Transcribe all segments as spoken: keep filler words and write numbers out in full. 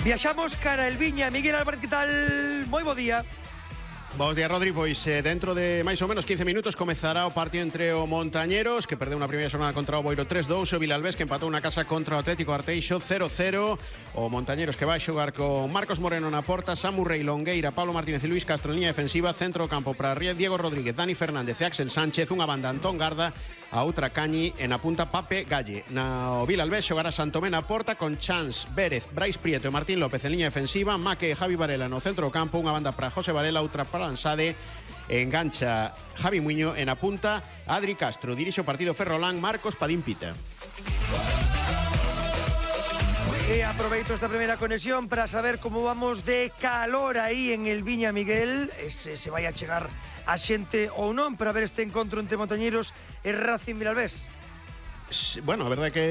Viaxamos cara el Viña. Miguel Álvarez, que tal? Moi bo día. Bos días, Rodri. Pois eh, dentro de máis ou menos quince minutos comezará o partido entre o Montañeros, que perdeu unha primeira xornada contra o Boiro tres dous, o Vilalbés, que empatou na casa contra o Atlético Arteixo cero cero, o Montañeros, que vai xogar con Marcos Moreno na porta, Samu Rei, Longueira, Pablo Martínez e Luis Castro en liña defensiva, centro campo para Riez, Diego Rodríguez, Dani Fernández e Axel Sánchez, unha banda Antón Garda, a outra Cañi, e na punta Pape Galle. Na o Vilalbés xogará Santomé na porta con Chans, Vérez, Brais Prieto e Martín López en liña defensiva, Maque e Javi Varela no centro campo, unha banda para José Varela, outra para Ansade, engancha Javi Muño en a punta, Adri Castro dirixe o partido Ferrolán, Marcos Padín Pita. E aproveito esta primeira conexión para saber como vamos de calor aí en el Viña, Miguel. Se, se vai a chegar a xente ou non para ver este encontro entre Montañeros e Racing Vilalbés. Bueno, a verdade é que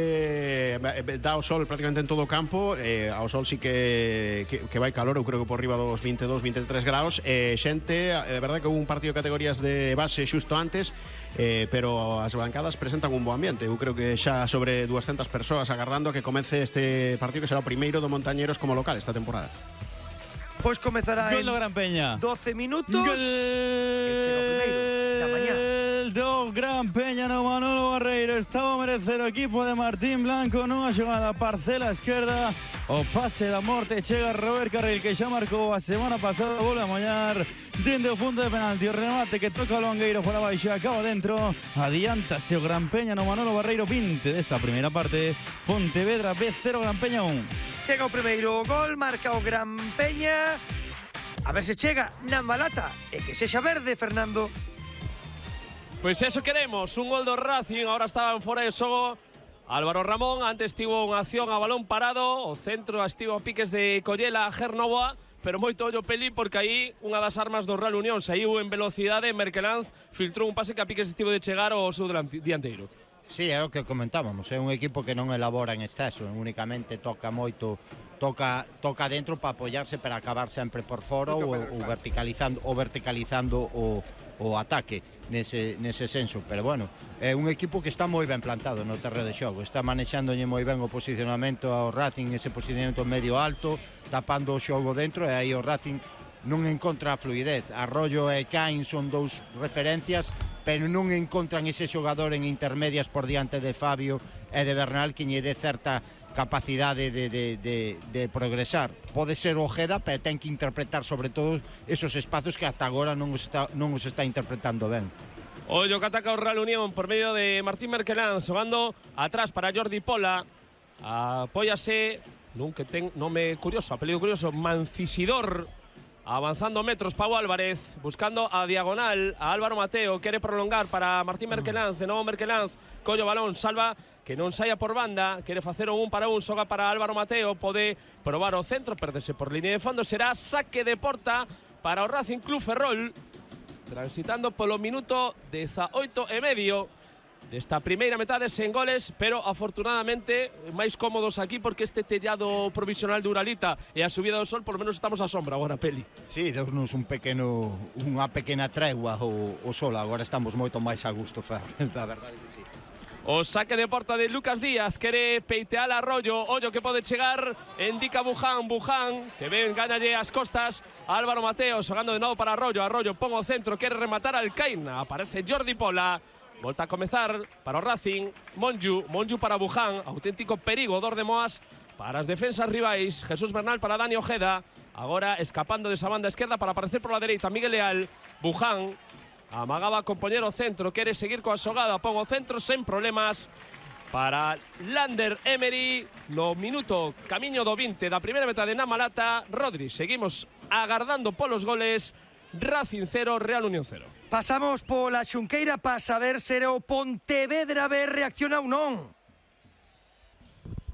dá o sol prácticamente en todo o campo, eh, ao sol sí que, que, que vai calor, eu creo que por riba dos veintidós, veintitrés graus, eh, xente, é verdade que houve un partido de categorías de base xusto antes, eh, pero as bancadas presentan un bo ambiente. Eu creo que xa sobre dúascentas persoas agardando a que comece este partido, que será o primeiro do Montañeros como local esta temporada. Pois comezará Gol do Gran Peña. doce minutos. Gol que chega o primeiro da mañá. do Gran Peña no Manolo Barreiro. Estaba a merecer o equipo de Martín Blanco nunha xogada parcela esquerda. O pase da morte chega Robert Carril, que xa marcou a semana pasada, volve a moñar dende o punto de penalti. O remate que toca o Longueiro por abaixo e acaba dentro. Adiántase o Gran Peña no Manolo Barreiro. vinte desta primeira parte. Pontevedra B cero, Gran Peña un. Chega o primeiro gol, marca o Gran Peña. A ver se chega na Malata e que sexa verde, Fernando. Pois eso queremos, un gol do Racing, ahora estaban fora de xogo Álvaro Ramón, antes tivo unha acción a balón parado, o centro estivo a piques de Collela a Gernovoa, pero moito ollo Peli porque aí unha das armas do Real Unión saiu en velocidade, Merkelanz filtrou un pase que a piques estivo de chegar ao seu dianteiro. Sí, é o que comentábamos, é un equipo que non elabora en exceso, únicamente toca moito, toca toca dentro para apoiarse para acabar sempre por fora ou, ou verticalizando ou verticalizando o o ataque nese, nese senso, pero bueno, é un equipo que está moi ben plantado no terreo de xogo, está manexándolle moi ben o posicionamento ao Racing, ese posicionamento medio alto, tapando o xogo dentro, e aí o Racing non encontra a fluidez. Arroyo e Caín son dous referencias, pero non encontran ese xogador en intermedias por diante de Fabio e de Bernal que lle dé certa capacidade de, de, de, de progresar. Pode ser Ojeda, pero ten que interpretar sobre todo esos espacios que hasta agora non os está, non os está interpretando ben. Ollo que ataca o Real Unión por medio de Martín Merkelanz, xogando atrás para Jordi Pola. Apóyase nun que ten nome curioso, apelido curioso, Mancisidor. Avanzando metros, Pau Álvarez, buscando a diagonal a Álvaro Mateo, quere prolongar para Martín Merkelanz, de novo Merkelanz, collo balón, salva, que non saia por banda, quere facer un un para un, xoga para Álvaro Mateo, pode probar o centro, perderse por línea de fondo, será saque de porta para o Racing Club Ferrol, transitando polo minuto dezaoito e medio desta primeira metade sen goles, pero afortunadamente máis cómodos aquí porque este tellado provisional de Uralita e a subida do sol, por lo menos estamos á sombra agora, Peli. Sí, deunos un pequeno, unha pequena tregua o, o sol, agora estamos moito máis a gusto, Fer, a verdade que sí. O saque de porta de Lucas Díaz, quere peitear a Arroyo, ollo que pode chegar, indica Buján, Buján, que ven, gánalle as costas, Álvaro Mateo, xogando de novo para Arroyo, Arroyo pon o centro, quere rematar al Caína, aparece Jordi Pola, volta a comezar para o Racing, Monju, Monju para Buján, auténtico perigo, dor de Moas para as defensas rivais, Jesús Bernal para Dani Ojeda, agora escapando desa banda esquerda para aparecer por la dereita, Miguel Leal, Buján, amagaba a compoñer o centro, quere seguir coa xogada, pon o centro sen problemas para Lander Emery no minuto camiño do vinte da primeira metade na Malata. Rodri, seguimos agardando polos goles. Racing cero, Real Unión cero. Pasamos pola Xunqueira para saber se o Pontevedra B reacciona ou non.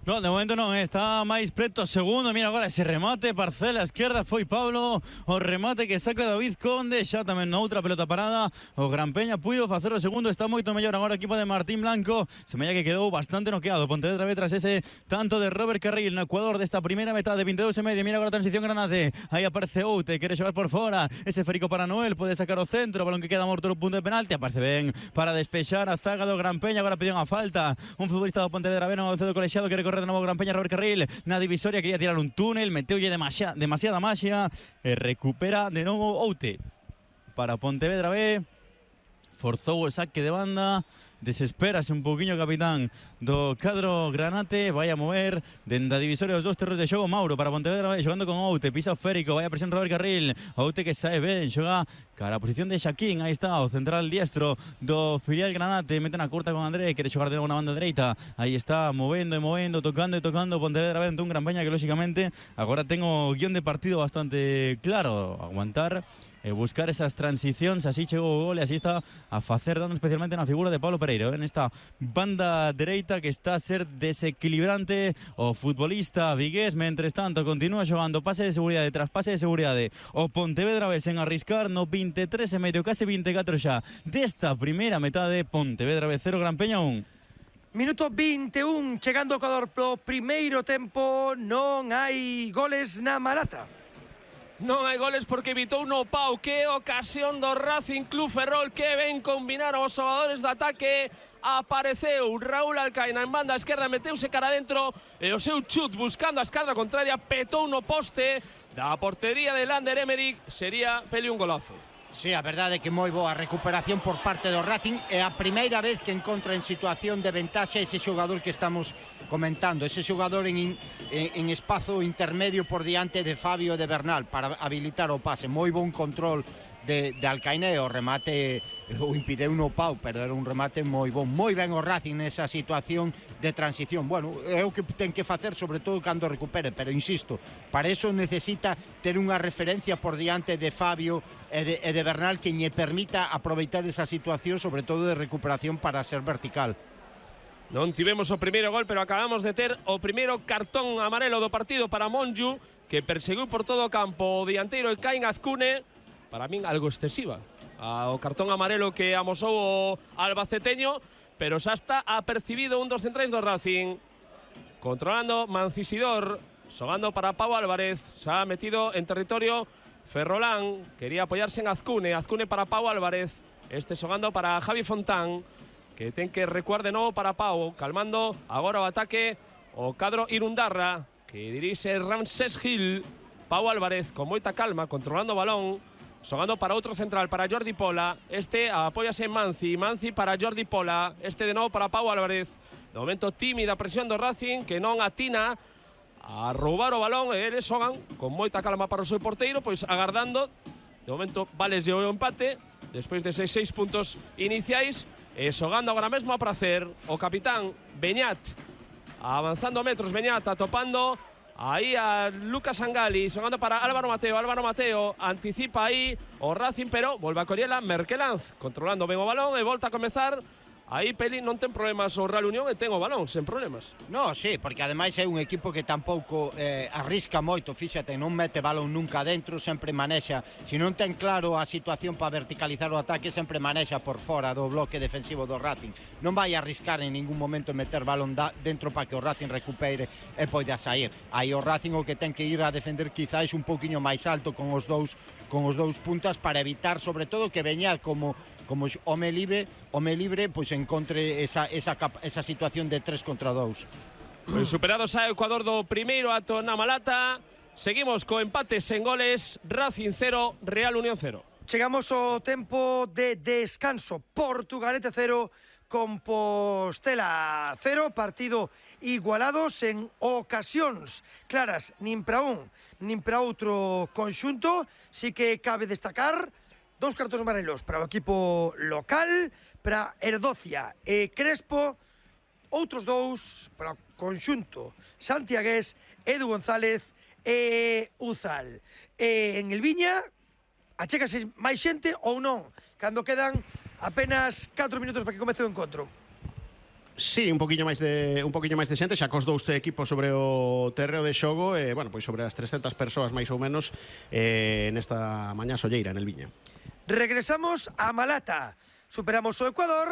No, de momento non, está máis preto segundo. Mira agora ese remate, parcela esquerda, foi Pablo, o remate que saca David Conde, xa tamén na outra pelota parada. O Gran Peña puido facer o segundo, está moito mellor agora o equipo de Martín Blanco. Se me que quedou bastante noqueado Pontevedra B tras ese tanto de Robert Carril no Ecuador desta primeira metade, veintidós e medio. Mira agora a transición Granate, aí aparece Oute, quere xogar por fora, ese Férico para Noel, pode sacar o centro, balón que queda morto no punto de penalti, aparece ben para despexar a zaga do Gran Peña. Agora pediu unha falta, un futbolista do Pontevedra B non avanzado colexiado, quere correr de novo Gran Peña, Robert Carril na divisoria, quería tirar un túnel, meteulle demasiada, demasiada maxia e recupera de novo Oute para Pontevedra B. Forzou o saque de banda, desespérase un pouquiño o capitán do cadro granate, vai a mover dende a divisoria os dos terros de xogo. Mauro para Pontevedra B, xogando con Oute, pisa o Férico, vai a presión Robert Carril, Oute que sae ben, xoga cara a posición de Xaquín, aí está o central diestro do filial granate, mete na curta con André, quere xogar de novo na banda dereita, aí está movendo e movendo, tocando e tocando Pontevedra B ante un Gran Peña que lóxicamente agora ten o guión de partido bastante claro, aguantar e buscar esas transicións, así chegou o gol e así está a facer dando especialmente na figura de Pablo Pereiro, en esta banda dereita que está a ser desequilibrante o futbolista vigués. Mentres tanto continúa xogando pase de seguridade tras pase de seguridade o Pontevedra B sen arriscar no veintitrés e medio, case veinticuatro xa desta primeira metade. Pontevedra B cero, Gran Peña un. Minuto veintiún, chegando o Ecuador pro primeiro tempo, non hai goles na Malata. Non hai goles porque evitou no Pau. Que ocasión do Racing Club Ferrol, que ben combinaron os xogadores de ataque. Apareceu Raúl Alcaina en banda esquerda, meteuse cara adentro e o seu chut buscando a esquadra contraria petou no poste da portería de Lander Emerick. Sería peli un golazo. Sí, a verdade é que moi boa recuperación por parte do Racing. É a primeira vez que encontra en situación de ventaxa ese xogador que estamos comentando, ese xogador en, en, en espazo intermedio por diante de Fabio de Bernal para habilitar o pase. Moi bon control de, de Alcaine, o remate o impideu no Pau, pero era un remate moi bon. Moi ben o Racing nesa situación de transición. Bueno, é o que ten que facer, sobre todo cando recupere, pero insisto, para eso necesita ter unha referencia por diante de Fabio e de, e de Bernal que lle permita aproveitar esa situación, sobre todo de recuperación, para ser vertical. Non tivemos o primeiro gol, pero acabamos de ter o primeiro cartón amarelo do partido para Monju, que perseguiu por todo o campo o dianteiro Caín Azcune, para min algo excesiva. O cartón amarelo que amosou o albaceteño, pero xa está apercibido un dos centrais do Racing. Controlando Mancisidor, xogando para Pau Álvarez, xa metido en territorio Ferrolán, quería apoyarse en Azcune, Azcune para Pau Álvarez, este xogando para Javi Fontán, que ten que recuar de novo para Pau, calmando agora o ataque o cadro Irundarra, que dirixe Ramsés Gil. Pau Álvarez con moita calma, controlando o balón, xogando para outro central, para Jordi Pola, este apóyase en Manzi, Manzi para Jordi Pola, este de novo para Pau Álvarez. De momento tímida presión do Racing, que non atina a roubar o balón, e eles xogan con moita calma para o seu porteiro, pois agardando. De momento valeslle o empate despois de seis, seis puntos iniciais, e xogando agora mesmo a prazer o capitán Beñat, avanzando metros Beñat, atopando aí a Lucas Angali, xogando para Álvaro Mateo, Álvaro Mateo anticipa aí o Racing, pero volve a Coriela Merkelanz, controlando ben o balón e volta a comezar. Aí Peli non ten problemas o Real Unión e ten o balón, sen problemas. No, sí, porque ademais é un equipo que tampouco eh, arrisca moito, fíxate, non mete balón nunca dentro, sempre manexa, se non ten claro a situación para verticalizar o ataque, sempre manexa por fora do bloque defensivo do Racing. Non vai a arriscar en ningún momento meter balón da, dentro para que o Racing recupere e poida sair. Aí o Racing o que ten que ir a defender quizáis un pouquiño máis alto con os dous con os dous puntas para evitar, sobre todo, que Beñat como como home libre, home libre, pois encontre esa, esa, esa situación de tres contra dous. Pois superado xa o Ecuador do primeiro ato na Malata. Seguimos co empate sen goles, Racing cero, Real Unión cero. Chegamos ao tempo de descanso. Portugalete cero, Compostela cero, partido igualado sen ocasións claras nin para un nin para outro conxunto. Si que cabe destacar dous cartóns amarelos para o equipo local, para Erdocia e Crespo, outros dous para o conxunto santiagués, Edu González e Uzal. E en el Viña, achégase máis xente ou non, cando quedan apenas catro minutos para que comece o encontro? Sí, un poquinho máis de un poquinho máis de xente, xa cos dous equipos sobre o terreo de xogo, e, bueno, pois sobre as trescentas persoas máis ou menos eh, nesta mañá solleira en el Viña. Regresamos a Malata. Superamos o Ecuador.